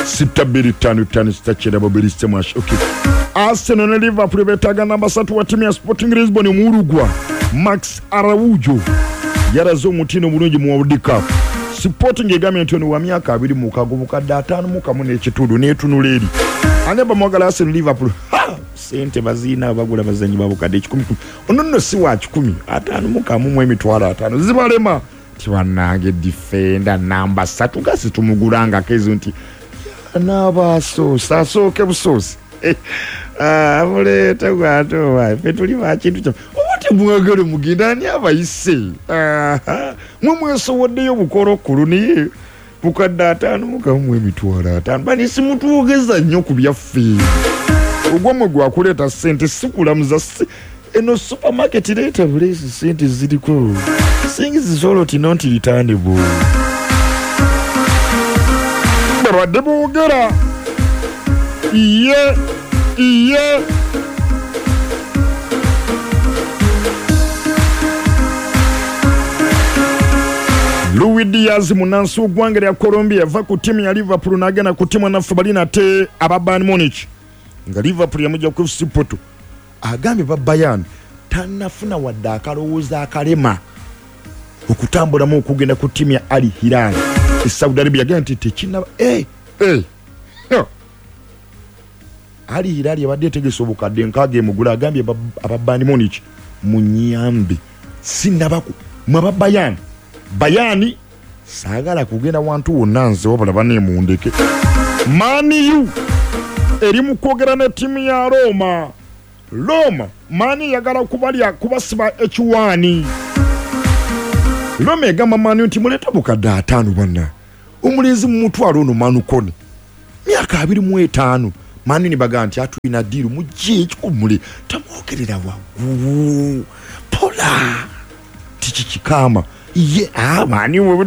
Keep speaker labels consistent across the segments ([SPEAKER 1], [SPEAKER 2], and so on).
[SPEAKER 1] 6255692 okay. Arsenal ne Liverpool betaaga namba 3 wa ttiimu ya Sporting Lisbon Omuurugwa Max Araujo yalaze omutindo omulungi mu World Cup. Sporting egambye nti ono wa myaka 26, bukadde 51 n'ekitundu n'etunula eri. Ani abamwagala Arsenal, Liverpool? Ha! Sente baziina abagula bazanyi ba bukadde 100. Ono nno si wa 100, 51 mu emitwalo 50 zibalema. Nti bannange defender namba 3 gasi tumugulangako ezo nti n'abasoosi asooke busoosi. Muleete gwate owa ffe tuli ba kintu kya oba temwagala mugenda ani abayise? Mwe mwesowoddeyo bukolokolo naye bukadde 51 mu emitwalo 50. Bani simutwogeza nnyo ku byaffe. Ogwamwe gwakuleeta ssente si kulamuza si eno supermarket leeta buleesi ssente ziriko. Things zoloti not returnable. Babadde boogera iye iye. Luis Diaz munansi w'eggwanga lya Colombia yava ku ttiimu ya Liverpool n'agenda ku ttiimu naffe bali nate aba Bayern Munich nga Liverpool yamujja ku FC Porto. Agambye ba Bayern tannafuna wadde akalowoozo akalema okutambulamu okugenda ku ttiimu ya Al Hilal e Saudi Arabia. Agambye nti tekinnaba Al Hilal yabadde etegese obukadde 60 emugula. Agambye aba Bayern Munich munyambe sinnabaku mwe aba Bayern Bayern saagala kugenda wantu wonna nze wabula baneemundeke. Man U eri mu kwogera ne ttiimu ya Roma. Roma Man eyagala kubalya kubasiba ekiwaani. Roma egamba Man U nti muleete bukadde 50 banna omulenzi mu mutwalo ono Manu Kone myaka 25. Man U ne bagamba nti atulina ddiiru mujje ekikumule tamwogerera waggulu pola tiki kikama ye Man U we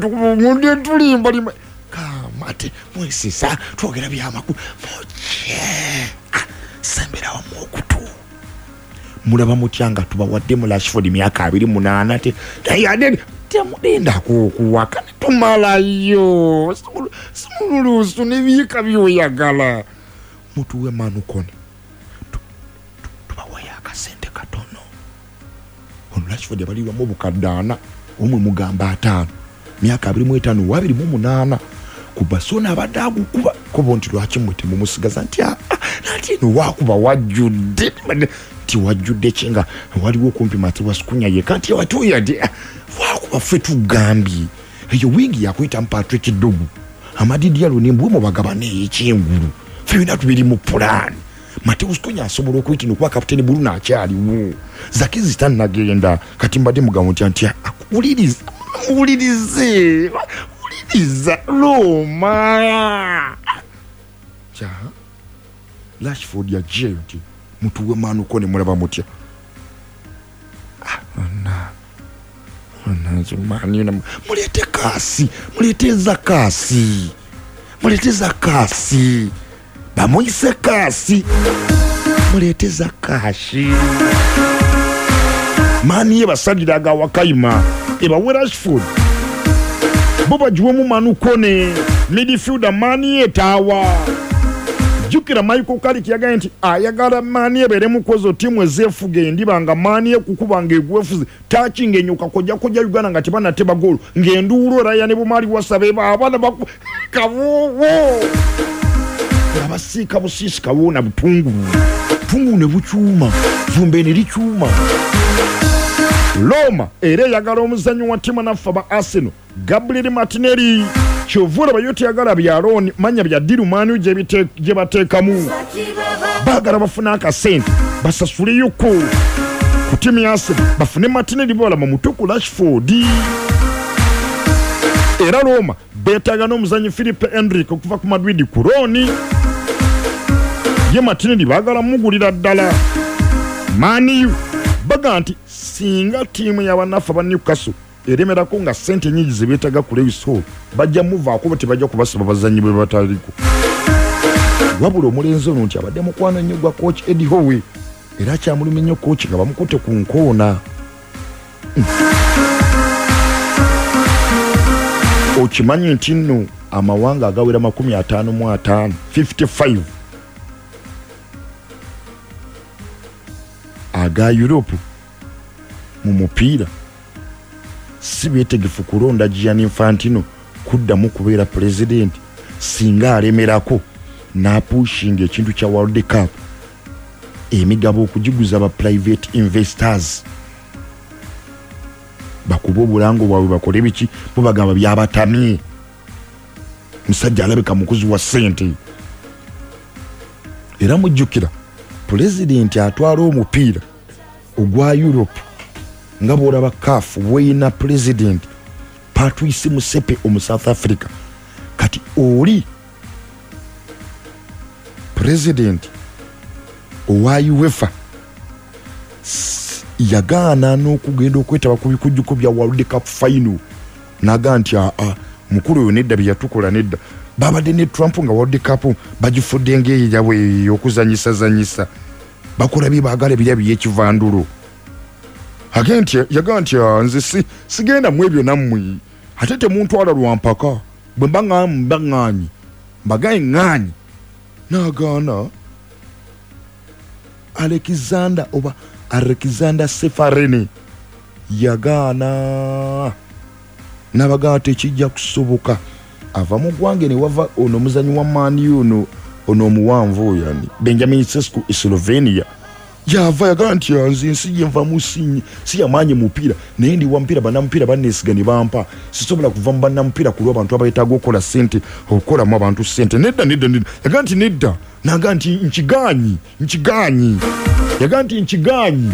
[SPEAKER 1] tulimba limba kama te mwesesa twogera byamakulu mujje sembera wamu okutu mulaba mutya nga tubawadde mu Rashford myaka 28 te naye temudenda kuwaka tumalayo simululusu n'ebiika by'oyagala mutuwe Manu Kone tubawayo akasente katono. Ono Rashford yabalirwamu obukadde 4 omwe mugamba 5 myaka 25 wa 28 ku Barcelona abadde agukuba kobo nti lwaki mmwe temumusigaza nti nati eno wakuba wajjudde nti wajjudde ki nga waliwo okumpi Matheus Cunha yekka nti watuya wakuba ffe tugambye eyo wingi yakuyitamu Patrick Dorgu Amad Diallo ne mbwe mubagabane ekyengulu ffe byonna tubiri mu pulaani. Matheus Cunha asobola okuyita okuba kapiteeni Bruno akyaliwo Zakizi tannagenda kati mbadde mugamba nti nti wuliriza wulirize wuliriza Roma kya Rashford yajjeyo nti mutuwe Manu Kone mulaba mutya. Muleete kaasi muleete za kaasi muleete za kaasi bamuyise kaasi muleete za kashi. Mani ebasalira aga wakayima ebawe Rashford bo bagiwemu Manu Kone midfielder Mani etaawa. Jjukira Michael Carrick yagambye nti ayagala Mani ebeere mu kwezo ttiimu ezeefuga endiba nga Mani ekukuba ng'egwefuze takinga enyoka kojja kojja Uganda nga tebannateba goolo ng'enduulu Raya ne Bumali wasaba abaana kabuuwo nga basiika busiisi kawuuna butungulu butungulu ne bukyuma vumbe ne likyuma. Roma era eyagala omuzannyi wa ttiimu naffe aba Arsenal Gabriel Martinelli. Kyova olaba yo teyagala bya looni manya bya ddiru Man U gye bateekamu. Baagala bafune akasente basasuleyoko ku ttiimu ya Arsenal bafune Martinelli balaba muto ku Rashford. Era Roma beetaaga n'omuzannyi Philippe Endrick okuva ku Madrid ku looni. Ye Martinelli baagala mugulira ddala. Man U baga nti singa ttiimu y'abannaffe aba Newcastle eremerako nga ssente nnyingi ze beetaaga ku Lewis Hall bajja muvaako bo tebajja kubasiba bazannyi bwe bataliko. Wabula omulenzi ono nti abadde mukwano nnyo gwa coach Eddie Howe era kyamulumye nnyo coach nga bamukutte ku nkoona. Okimanyi nti nno Amawanga agawera 55, 55 aga Europe mu mupiira si beetegefu kulonda Gianni Infantino kuddamu kubeera pulezidenti singa alemerako n'apushinga ekintu kya World Cup, emigabo okugiguza ba private investors bakube obulango bwabwe, bakole biki. Bo bagamba byabatamye, musajja alabika mukuzi wa ssente. Era mujjukira pulezidenti atwala omupiira ogwa Europe, nga bwolaba CAF bweyina pulezidenti Patrice Motsepe omu South Africa, kati oli pulezidenti owa UEFA yagaana n'okugenda okwetaba ku bikujjuko bya World Cup final, naga nti aa, mukulu oyo nedda, byeyatukola nedda. Babadde ne Trump nga World Cup bagifudde ngaeyo yabwe ey'okuzanyisazanyisa, bakola bye baagala, birya byekivandulo. Age nti yagaa nti, "Ah, nze sigenda mu ebyo nammwe, ate temuntwala lwampaka, bwe mba mba ŋŋaanyi mbagaye ŋŋaanyi." N'agaana. Alexander oba Alexander Ceferin yagaana, n'abagamba tekijja kusoboka. Ava mu ggwanga ne wava ono omuzanyi wa Man U, ono omuwanvu oyo ani, Benjamin Sesko e Slovenia yava, yagamba nti, "Ah, nze ensi gyenvamu si yamaanyi mupiira, naye ndi wa mupiira, bannamupiira banneesiga ne bampa, sisobola kuva mu bannamupiira ku lw'abantu abayetaaga okukola sente, okukolamu abantu sente, nedda, nedda, nedda." Yagamba nti nedda, naga nti nkigaanyi, nkigaanyi, yagamba nti nkigaanyi.